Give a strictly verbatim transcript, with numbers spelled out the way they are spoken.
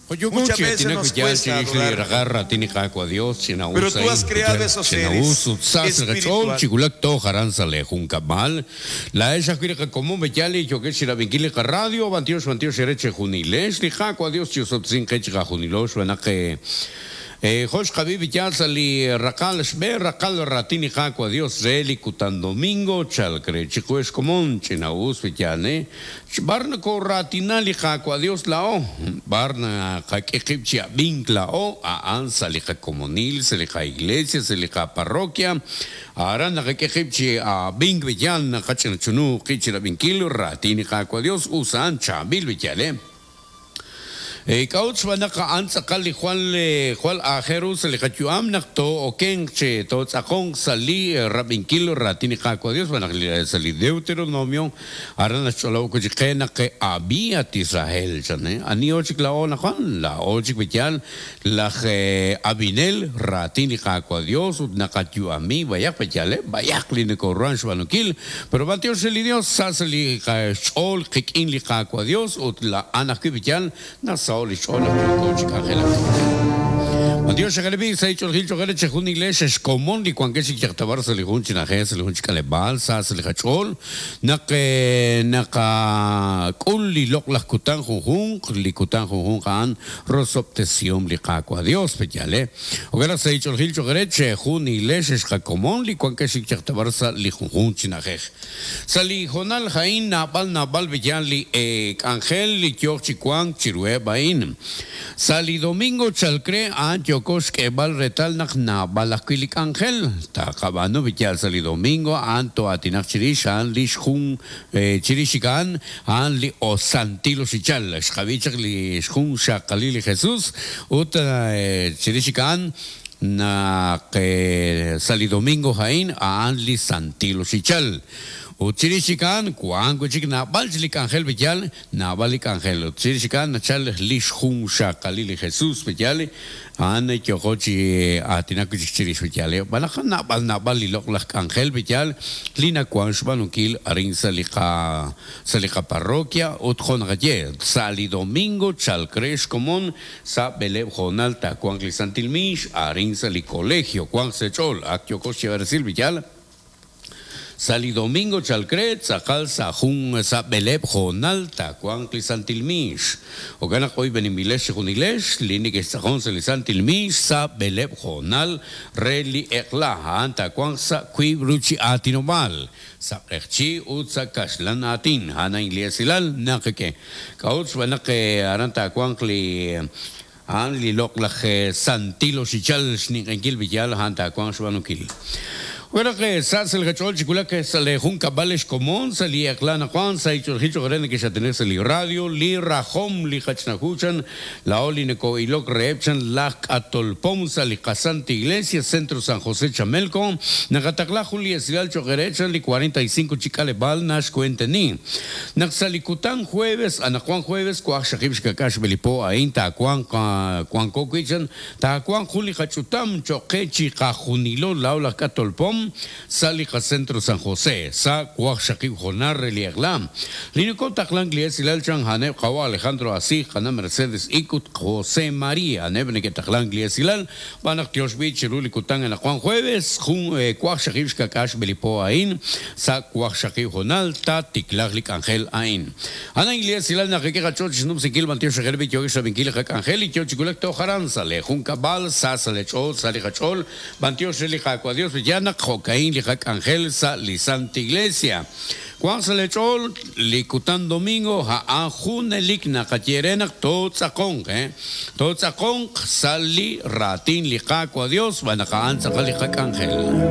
Muchas veces nos cuesta adorar. Pero tú has creado esos seres espirituales. Josh Javi Villalza li Rakal Shbe Rakal Ratini Jacua Dios Reli Kutan Domingo Chalcre Chicues Común Chinaus Villane Barna Ratinali Jacua Dios Lao Barna Jaquejipchia Vincla O A Ansa Lija Comunil Selija Iglesia Selija Parroquia Arana Jaquejipchi A Vink Villan Hachenchunu Kichira Vinquilo Ratini Jacua Dios Usan Chabil Villale Kauch banaka antzakal li Juan le Juan Ajerus le kachuam nakto okenche to tzakong sali rabinkilo ratini kakwa Dios banak sali Deuteronomio arana cholau kuchikena que había Israel chane ani ochik la ona Juan la ochik betial la abinel ratini kakwa Dios nakachuami bayak betiale bayak li nekoran shbanukil pero batios el Dios sasali chol kikin li kakwa Dios ut la anakibitial nasa Dios se ha hecho el gil choquere chejun iglesia es común y cuando se quiere se le junchi na se le junchi calebalsa se le cachol na que na ka kul li lok las kutan junjun li kutan junjun kan rosoptesium li kakua Dios pechale o que se ha hecho el gil choquere chejun iglesia es común li cuando se quiere se le junchi na sali jonal jain nabal nabal villan li angel li kioch chicuan chirue bain sali domingo chalcre an Yokos que bal retal nak na balakwilik angel ta kabano bityal sali domingo anto atinak chirish an lish jun chirishikan an li osantilo sichal xkabichak li jun shakalili Jesús ut chirishikan na que sali domingo jain an li santilo sichal Uchirishikan, kuango chik na balchlik angel betial, na balik angel. Uchirishikan, nachal lish jun shakalili Jesús betial, ane kyokochi atinakuchik chirish betial. Balajan na bal na bal lilok lak angel betial, lina kuan shbanukil arin salika salika parroquia, utjon gaye, sali domingo, chalcresh común, sa beleb jonal ta kuan clisantilmish, arin sali colegio, kuan sechol, akyokochi versil betial. Sali domingo chalcret, sakal sajun sa beleb jonal ta kuan clisantilmish. Ogana hoy benimilesh junilesh, linik estajón salisantilmish, sa beleb jonal, reli ekla, anta kuan sa kuibruchi atinomal. Sa erchi utsa kashlan atin, hana ingliesilal, nakeke. Kauts banake aranta kuan cli. Han li lok laj santilo sichal shninkil villal hanta kuan shbanukil. Bueno, que sas el gachol chicula que sale junca vales común, salía clana Juan, sa hecho el hicho grande que ya tenés el radio, li rajom, li hachnahuchan, la oli neko ilok reepchan, la atolpom, sali casante iglesia, centro San José Chamelco, nagatakla juli esrial chogerechan, li cuarenta y cinco chicale bal, nash cuenteni. Naxalicután jueves, anajuan jueves, cuaj shakib shkakash belipo, ain ta cuan cuan coquichan, ta cuan juli hachutam, choquechi cajunilo, laula catolpom, Salija Centro San José, Sa Cuaj Shakib Jonar Reliaglam, Liniko Taklan Glies Ilalchan Haneb Jawa Alejandro Así, Jana Mercedes Ikut José María, Nebneke Taklan Glies Ilal, Banak Tioshbi, Chiruli Kután en la Juan Jueves, Jun Cuaj Shakib Shkakash Belipo Ain, Sa Cuaj Shakib Jonal, Ta Tiklaglik Angel Ain. Ana Glies Ilal Nakeke Choch Nupsikil Mantio Shakerbi Yogish Sabinkil Hak Angel, y Tiochikulak Tojaran, Sale Junca Bal, Sa Salechol, Salija Chol, Bantio Shelija Dios Villana, Jocaín, Lijak Angel, Sa Lisanta Iglesia. Juan Salechol, Licután Domingo, Jaajunelik, Nakatierenak, Totzakong, eh. Totzakong, Sali, Ratín, Lijacua Dios, Banakaan, Sakalijak Angel.